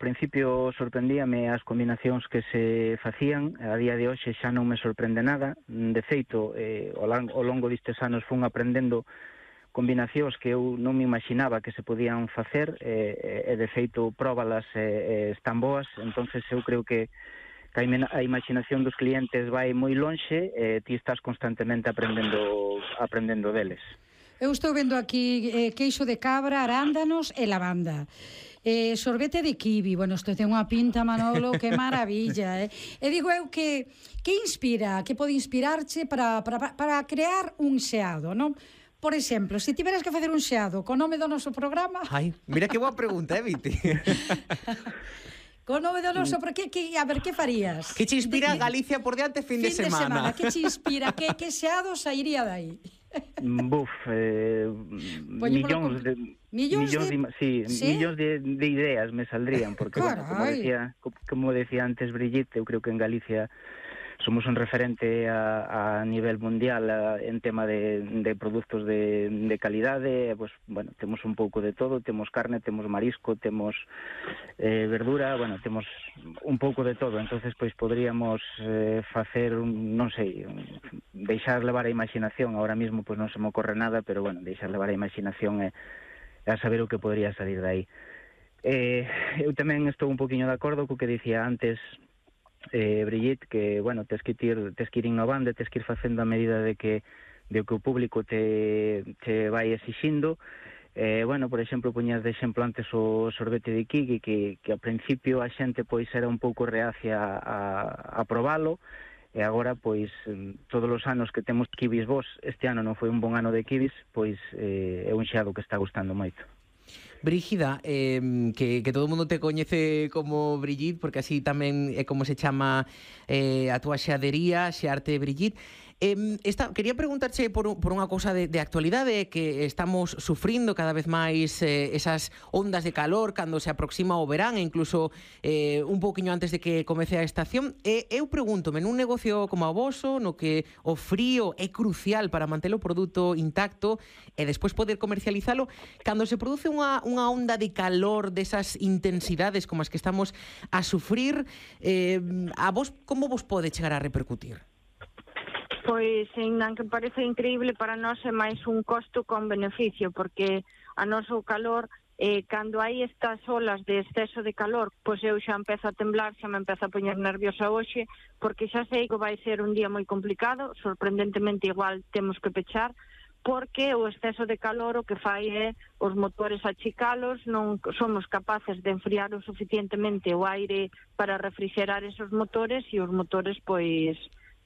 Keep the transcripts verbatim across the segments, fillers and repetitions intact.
principio sorprendíame as combinacións que se facían, a día de hoxe xa non me sorprende nada, de feito, eh, ao, longo, ao longo destes anos fun aprendendo combinacións que eu non me imaginaba que se podían facer, e, e de feito próbalas e, e están boas, entonces eu creo que que a imaginación dos clientes vai moi lonxe e ti estás constantemente aprendendo aprendendo deles. Eu estou vendo aquí eh, queixo de cabra, arándanos e lavanda. Eh, sorbete de kiwi, bueno, isto ten unha pinta, Manolo, que maravilla, eh? E digo eu que que inspira, que pode inspirarche para, para, para crear un xeado, non? Por exemplo, se tiveras que facer un xeado co nome do noso programa... Ai, mira que boa pregunta, eh, Viti? Co nome do noso, que, que, a ver, que farías? Que te inspira de, Galicia por diante fin, fin de semana? Fin de semana, que te inspira? que, que xeado sairía dai? Buf, eh, millóns de... Millóns de... de sí, ¿sí? millóns de, de ideas me saldrían, porque, bueno, como decía, como decía antes Brigitte, eu creo que en Galicia somos un referente a, a nivel mundial a, en tema de, de produtos de, de calidade, pues, bueno, temos un pouco de todo, temos carne, temos marisco, temos eh, verdura, bueno, temos un pouco de todo, entonces pois podríamos eh, facer, un, non sei, un, deixar levar a imaginación, ahora mismo pois non se me ocorre nada, pero bueno, deixar levar a imaginación e, e a saber o que podría salir de aí. Eh, eu tamén estou un poquinho de acordo co que dicía antes Eh, Brigitte, que, bueno, tes que ir, tes que ir innovando, tes que ir facendo a medida de que, de que o público te, te vai exixindo. Eh, bueno, por exemplo, poñas de exemplo antes o sorbete de kiwi, que, que a principio a xente pois era un pouco reacia a, a probalo, e agora, pois, todos os anos que temos kiwis vos, este ano non foi un bon ano de kiwis, pois eh, é un xeado que está gustando moito. Brígida, eh, que, que todo o mundo te coñece como Brigitte, porque así tamén é como se chama eh, a túa xeadería, Xearte Brigitte. Eh, esta, quería preguntarche por, por unha cousa de, de actualidade, que estamos sufrindo cada vez máis eh, esas ondas de calor cando se aproxima o verán, e incluso eh, un pouquiño antes de que comece a estación. E eu pregúntome, nun negocio como o voso, no que o frío é crucial para manter o produto intacto e despois poder comercializalo, cando se produce unha, unha onda de calor desas intensidades como as que estamos a sufrir, eh, a vos como vos pode chegar a repercutir? Pois, en que parece increíble, para nós é máis un costo con beneficio, porque a noso calor, eh, cando hai estas olas de exceso de calor, pois eu xa empezo a temblar, xa me empezo a poñer nerviosa hoxe, porque xa sei que vai ser un día moi complicado, sorprendentemente igual temos que pechar, porque o exceso de calor o que fai é os motores achicalos, non somos capaces de enfriar o suficientemente o aire para refrigerar esos motores, e os motores, pois...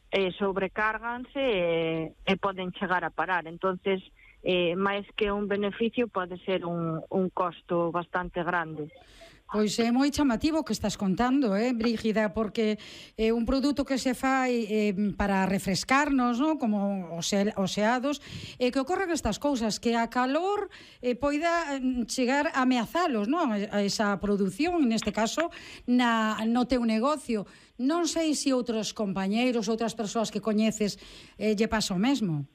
Eh, sobrecárganse e, e poden chegar a parar. Entonces, eh, máis que un beneficio, pode ser un, un costo bastante grande. Pois é moi chamativo o que estás contando, eh, Brígida, porque é un produto que se fai eh, para refrescarnos, ¿no? Como os, os xeados, e eh, que ocorren estas cousas, que a calor eh, poida chegar a ameazalos, ¿no? A esa produción, neste caso, na, no teu negocio. Non sei se outros compañeiros, outras persoas que coñeces, eh, lle pasa o mesmo.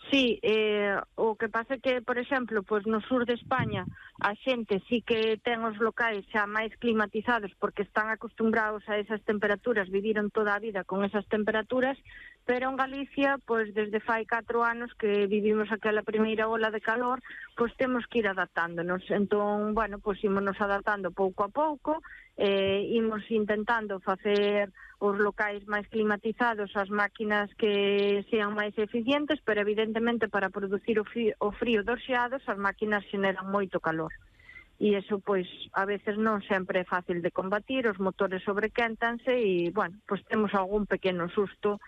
Sí, eh, o que pasa é que, por exemplo, pois no sur de España a xente sí que ten os locais xa máis climatizados porque están acostumbrados a esas temperaturas, viviron toda a vida con esas temperaturas, pero en Galicia, pois desde fai catro anos que vivimos aquela primeira ola de calor, pois temos que ir adaptándonos. Entón, bueno, pois ímonos adaptando pouco a pouco, eh, imos intentando facer os locais máis climatizados, as máquinas que sean máis eficientes, pero evidentemente para producir o frío, o frío dos xeados as máquinas xeneran moito calor. E iso, pois, a veces non sempre é fácil de combatir, os motores sobrequéntanse e, bueno, pois temos algún pequeno susto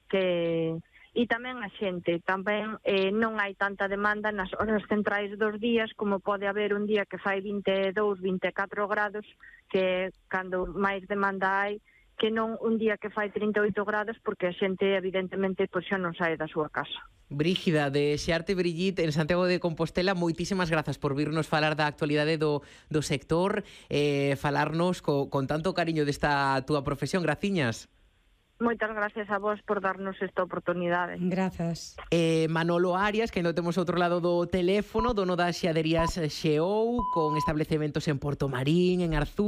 que... E tamén a xente, tamén eh, non hai tanta demanda nas horas centrais dos días como pode haber un día que fai vinte e dous, vinte e catro grados, que cando máis demanda hai, que non un día que fai trinta e oito grados, porque a xente evidentemente pois, xa non sae da súa casa. Brígida, de Xearte Brigitte en Santiago de Compostela, moitísimas grazas por virnos falar da actualidade do, do sector, eh, falarnos co, con tanto cariño desta túa profesión. Graciñas. Moitas gracias a vos por darnos esta oportunidade. Grazas. Eh, Manolo Arias, que ainda temos outro lado do teléfono, dono das xeaderías Xeou, con establecementos en Porto Marín, en Arzú,